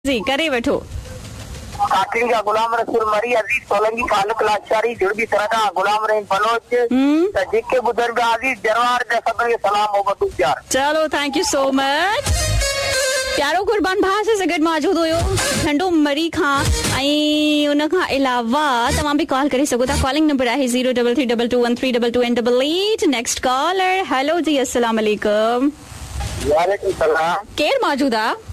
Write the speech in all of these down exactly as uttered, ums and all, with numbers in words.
जी करे वठो। काकड़ी का गुलाम रसूल मरी, अजीज सोलंकी, फालुक लाचारी, जुड़बी सरदा, गुलाम रहीम बलोच, त जेके बुज़ुर्ग अजीज जरवार जा सभिनी खे सलाम मोहब्बतूं प्यार। चलो thank you so much. प्यारो कुर्बान भाउ असां सां गॾु मौजूदु हुयो ठंडो मरी खां ऐं उन खां अलावा तव्हां बि कॉल करे सघो था। कॉलिंग नंबर आहे zero double three double two one three double two and double eight. Next caller, hello जी अस्सलाम वालेकुम। वालेकुम सलाम। केरु मौजूदु आहे?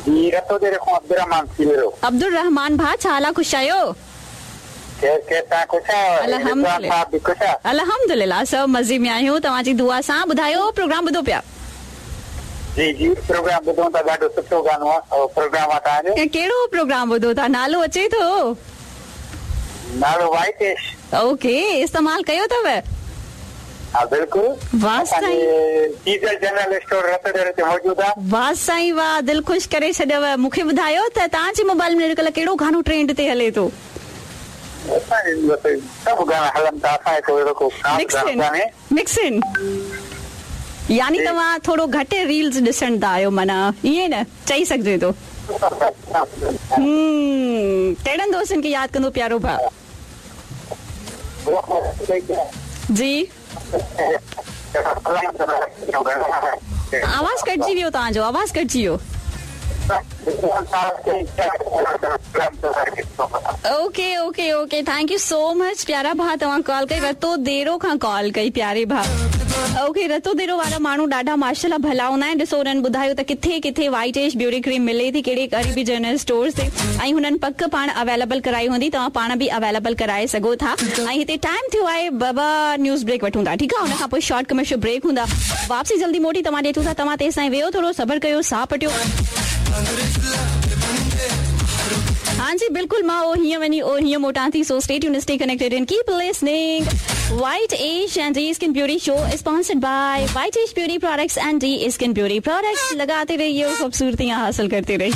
जी रतो देरे खां अब्दुल रहमान सीरो। अब्दुल रहमान भाउ छा हाल आहे, ख़ुशि आहियो? केर केर तव्हां ख़ुशि आहियो? अल्हम्दुलिल्लाह बि ख़ुशि आहे? अल्हम्दुलिल्लाह सभु मज़े में आहियूं तव्हांजी दुआ सां। ॿुधायो प्रोग्राम ॿुधो पिया? जी जी प्रोग्राम ॿुधूं था, ॾाढो सुठो गानो आहे प्रोग्राम आहे तव्हांजो। कहिड़ो प्रोग्राम ॿुधो था, नालो अचे थो? नालो वाइट एश। ओके, इस्तेमाल कयो अथव? हा बिल्कुलु। वाह साईं, डीजल जनरल स्टोर रतोदेरे ते मौजूदु आहे। वाह साईं वाह, दिलि ख़ुशि करे छॾियव। मूंखे ॿुधायो त तव्हांजे मोबाइल में अॼुकल्ह कहिड़ो गानो ट्रेंड ते हले थो? सभु गाना हलनि था, असांजे को अहिड़ो को ख़ासि गानो कान्हे। मिक्स इन यानी तव्हां थोरो घटि रील्स ॾिसंदा आहियो, माना ईअं न चई सघिजे थो। हम्म, कहिड़नि दोस्तनि खे यादि कंदो प्यारो भाउ? जी आवाज़ कटिजी वियो तव्हांजो, आवाज़ कटिजी वियो। Okay okay okay, thank you so much प्यारा भाउ, तव्हां कॉल कई। रतो देरो खां कॉल कई प्यारे भाउ। ओके, रतो देरो वारा माण्हू ॾाढा माशाल्लाह भला हूंदा आहिनि। ॾिसो हुननि ॿुधायो त किथे किथे वाइट एश ब्यूटी क्रीम मिले थी, कहिड़े अरबी जनरल स्टोर्स ते, ऐं हुननि पक पाण अवेलेबल कराई हूंदी, तव्हां पाण बि अवेलेबल कराए सघो था। ऐं हिते टाइम थियो आहे बाबा न्यूज़ ब्रेक वठूं था, ठीकु आहे? हुन खां पोइ शॉर्ट कमर्शियल ब्रेक हूंदा, वापसी जल्दी मोटी तव्हां ॾे अचूं था। तव्हां तेसिताईं वेहो, थोरो सब्र कयो, साह पटियो। हाँ जी बिल्कुल, मां ओ हीअं वञी ओ हीअं मोटां थी। So stay tune, stay connected and keep listening. White Ash and D skin beauty show sponsored by White Ash beauty products and D skin beauty products. लगाते रहिए और खूबसूरतियां हासिल करते रहिए।